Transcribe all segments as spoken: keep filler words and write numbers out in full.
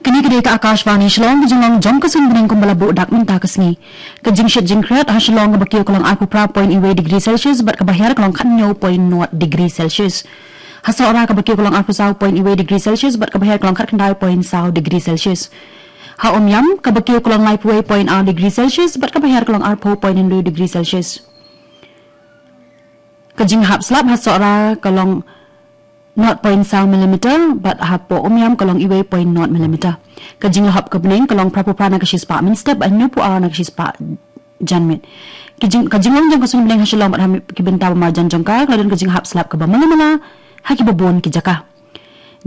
Kine ki dei ka Akashvani Shillong, ka jinglong jong ka suiñ bneng kumba la buh dak mynta ka sngi. Ka jingshit jingkhriat ha Shillong kaba kiew ka long arphew phra point wei degree Celsius bad kaba hiar ka long khathynñiew point nought degree Celsius. Ha Sohra kaba kiew ka long arphew saw point wei degree Celsius bad kaba hiar ka long khatkhyndai point saw degree Celsius. Ha Umiam kaba kiew ka long laiphew wei point ar degree Celsius bad kaba hiar ka long arphew point hynriew degree Celsius. Ka jinghap slap ha Sohra ka long nought point saw millimeter bad hapoh Umiam ka long wei point nought millimeter. Ka jinglahop ka bneng ka long phraphew phra na ka shispah mynstep bad hynñiewphew ar na ka shispah janmiet. Ki jing, ka jinglong jong ka suiñ bneng ha Shillong bad ha ki bynta ba marjan jong ka, ka la don ka jinghap slap kaba malamala ha kiba bun ki jaka.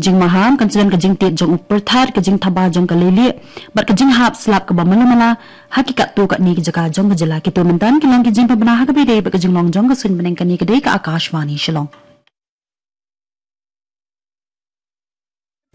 Jingmaham kan sa don ka jingtied jong u pyrthat, ka jingthaba jong ka leilieh bad ka jinghap slap kaba malamala ha ki katto katne ki jaka jong ka jylla. Kito mynta ki long ki jingpynbna ha kaba ïadei bad ka jinglong jong ka suiñ bneng. Kane ka dei ka Akashvani Shillong.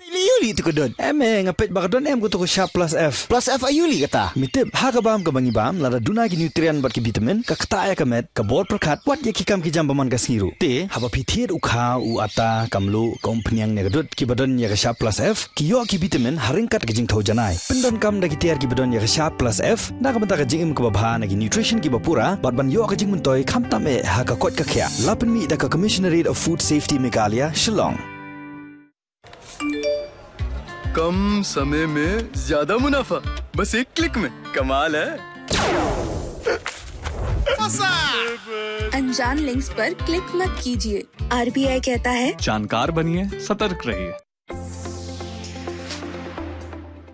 Pili yu li tu ka dot. Em eh, nga peit ba ka don em ka tu ka Sharp Plus F. Plus F ayu li kata? Mi tip, ha ka bam kaba ngi bam, lada duna ki nutrient bad ki vitamin, ka ktah ïa ka met, ka bor pyrkhat, wat ïa ki kam ki jam ba man ka sngi ruh. Te, haba phi thied u khaw, u atta, ka mluh, ka umphniang ne ka dud, kiba don ïa ka Sharp Plus F, ki ïoh ki vitamin ha ryngkat ka jingthew janai. Pyndonkam da ki tiar kiba don ïa ka Sharp Plus F, na ka bynta ka jingim kaba bha na ki nutrition kiba pura, bad ban ïoh ka jingmyntoi khamtam eh ha ka koit ka khiah. La pynmih da ka Commissionerate of Food Safety Meghalaya, Shillong. कम समय में ज्यादा मुनाफा, बस एक क्लिक में। कमाल है। अनजान लिंक्स पर क्लिक मत कीजिए। आरबीआई कहता है, जानकार बनिए, सतर्क रहिए।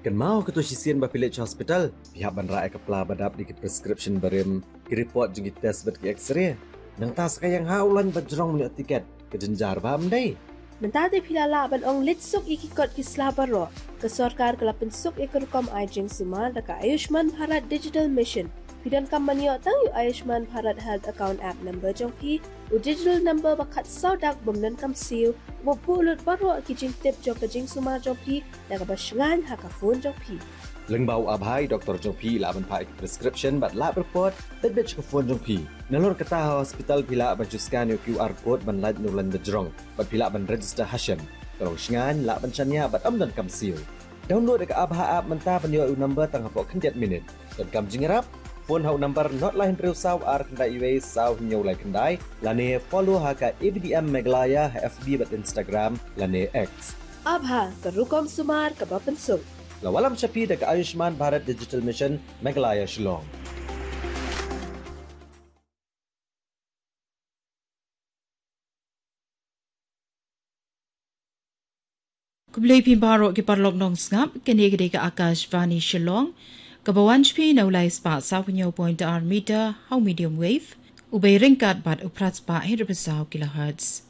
Kynmaw, katto shisien ba phi leit sha hospital, phi hap ban rah ïa ka pla ba dap da ki prescription barim, ki report jong ki test bad ki X-ray. Nangta sa ka ïang ha u lain ba jrong ban ïoh tiket, ka jynjar ba ym dei. Mynta te phi la lah ban ong leit suk ïa ki kot ki sla baroh. Ka sorkar ka la pynsuk ïa ka rukom ai jingsumar da ka Ayushman Bharat Digital Mission. Phi donkam ban ïoh tang ïa u Ayushman Bharat Health Account App number jong phi, u digital number ba khatsaw dak bym donkam siew, uba buh lut baroh ki jingtip jong ka jingsumar jong phi da kaba shngaiñ ha ka phone jong phi. Lyngba u ABHA, i doktor jong phi i lah ban phah ïa ki prescription bad lab report beit beit sha ka phone jong phi. Nalor kata, ha hospital phi lah ban shu scan ïa u QR code ban lait na u lain ba jrong bad phi lah ban register ha shen. Ka long shngaiñ, lah ban shaniah bad ym donkam siew. Download ïa ka ABHA app mynta ban ïoh ïa u number tang hapoh khyndiat minit. Donkam jingïarap? Phone ha u number nod lai hynriew saw ar khyndai wei saw hynñiew lai khyndai, lane follow ha ka A B D M Meghalaya ha F B bad Instagram lane X. ABHA, ka rukom sumar kaba pynsuk. La wallam sha phi da ka Ayushman Bharat Digital Mission, Meghalaya, Shillong. Khublei phi baroh ki paralok nongsngap, kane ka dei ka Akashvani Shillong, kaba wan sha phi na u lai spah saw hynñiew point ar meter, ha u medium wave, u bei ryngkat bad u phra spah hynriew phew saw kilohertz.